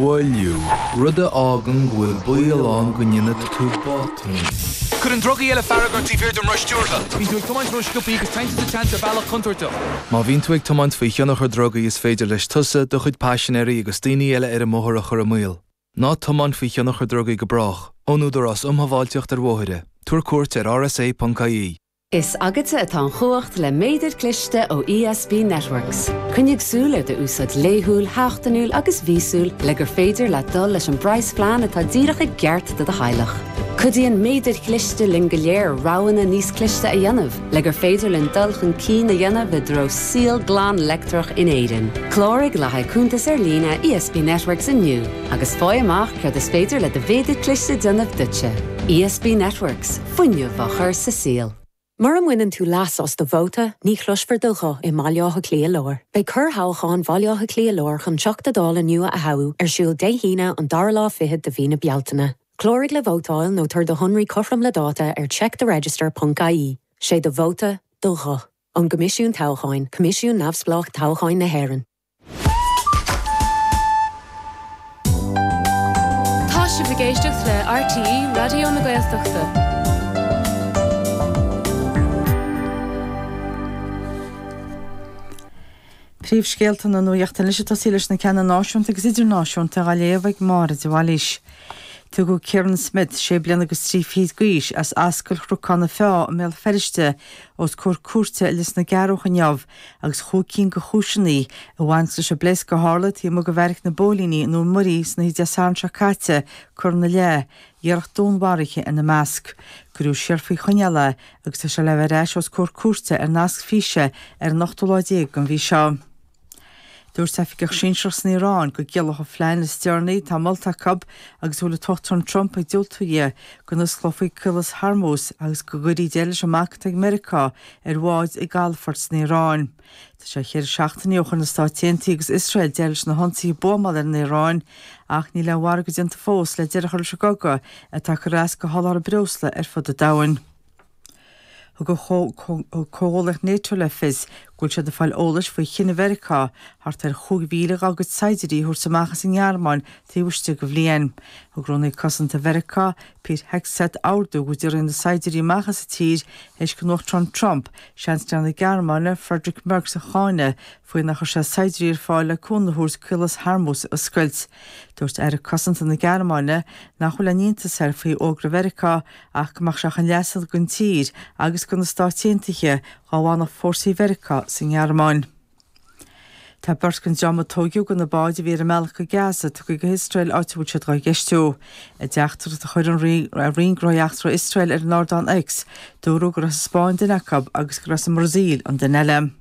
mhoilliú, rud a fhágann go bhfuil baol ann go ndéanfaidh tú botún. Cuireann drugaí eile fearg ort taobh thiar den roth stiúrtha. Bíonn tú ag tiomáint ró-sciobthaí agus téann tú sa tseans ar bhealach contúirteach. Má bhíonn tú ag tiomáint faoi thionchar drugaí is féidir leis tusa, do chuid paisinéirí agus daoine eile ar an mbóthar a chur i mbaol. Ná tiomáin faoi thionchar drugaí go brách. Ón Údarás um Shábháilteacht ar Bhóithre. Tabhair cuairt ar rsa.ie. Is agatsa atá an chumhacht le méadar cliste ó ESB Networks. Coinnigh súil ar d'úsáid laethúil, sheachtainiúil agus mhíosúil le gur féidir leat dul leis an bpraghasphlean atá díreach i gceart do do theaghlach. Cuidíonn méadair chliste linn go léir roghanna níos cliste a dhéanamh le gur féidir linn dul chun cinn a dhéanamh i dtreo saol glan leictreach in Éirinn. Cláraigh le haghaidh cuntas ar líne ESB Networks inniu agus faigh amach céard is féidir le do mhéadar cliste déanamh duitse. ESB Networks. Fuinneamh á chur sa saol. Mura mbaineann tú leas as do vóta, ní chloisfear do ghuth i mBaile Átha Cliath Láir. Beidh corrthoghchán Bhaile Átha Cliath Láir chun Teachta Dála nua a thoghadh ar siúl Dé hAoine an dara lá fichead de mhí na Bealtaine. Cláraigh le vótáil nó tabhair do shonraí cothrom le dáta ar checktheregister ponc ie. Sé do vóta, do ghuth. Ón gCoimisiún Toghcháin, Coimisiún Neamhspleách Toghcháin na hÉireann. Tá sibh ag éisteacht le RTÉ Raidió na Gaeltachta. Príomhscéalta na Nuachta anois ag tosaí leis na ceanna náisiúnta agus idirnáisiúnta á léamh ag Máire de Bhailís. Tugadh Kieran Smith, sé bliana agus 3 fichid d'aois, as Ascaill Chnocán na Feá i mBéal Feirste, os comhair cúirte i Lios na gCeathrúch inniu agus chúig cinn de chúiseanna a bhaint leis an bpléasc a tharla taobh amuigh de bheairic na bpóilíní i nDún Muirí san oíche Dé Sathairn seo caite curtha ina leith, iarracht dúnmharaithe ina measc. Cuireadh siar faoi choinneáil é agus tá sé le bheith ar ais os comhair cúirte ar nasc físe ar an ochtú lá déag den mhí seo. Dúirt oifigeach sinsearach san Iaráin go gciallódh an phlean is deireanaí atá molta acu agus a bhfuil an tUachtarán Trump ag diúltú di, go n-osclófaí Caolas Hormuz agus go gcuirfí deireadh leis an mbac atá ag Meiriceá ar bháid i gcalafort san Iaráin. Tá sé cheithre seachtainí ó chuir na Stáit Aontaithe agus Iosrael deireadh leis na hionsaithe buamála ar an Iaráin ach níl aon mhargadh déanta fós le deireadh a chur leis an gcogadh atá ag cur as do sholáthar breosla ar fud an domhain. Thug comhghuallaíocht Nato le fios go bhfuil siad ag fáil eolais faoi chinneadh Mheiriceá thart ar 5,000 dá gcuid saighdiúirí a thabhairt amach as an nGearmáin taobh istigh de bhliain. Thug Rúnaí Cosanta Mheiriceá, Pete Hegseth ordú go dtabharfaí na saighdiúirí amach as an tír théis don Uachtarán Trump Seansailéir na Gearmáine, Friedrich Merz a cháineadh faoi nár chuir sé saighdiúirí ar fáil le cúnamh a thabhairt Caolas Hormuz a oscailt. Dúirt Aire Cosanta na Gearmáine nach bhfuil aon iontas air faoi fhógra Mheiriceá ach go mbeadh sé chun leasa don tír agus do na Stáit Aontaithe dá bhfanfadh fórsaí Mheiriceá sa nGearmáin. Tá beirt den dream a tóigeadh de na báid a bhí ar a mbealach go Gaza tugtha go hIosrael áit a bhfuil siad dhá gceistiú. I dteachtaireacht a chuir an Roinn Gnóthaí Eachtracha Iosrael ar an ardán X, dúradh gur as an Spáinn duine acu agus gur as an mBrasaíl an duine eile.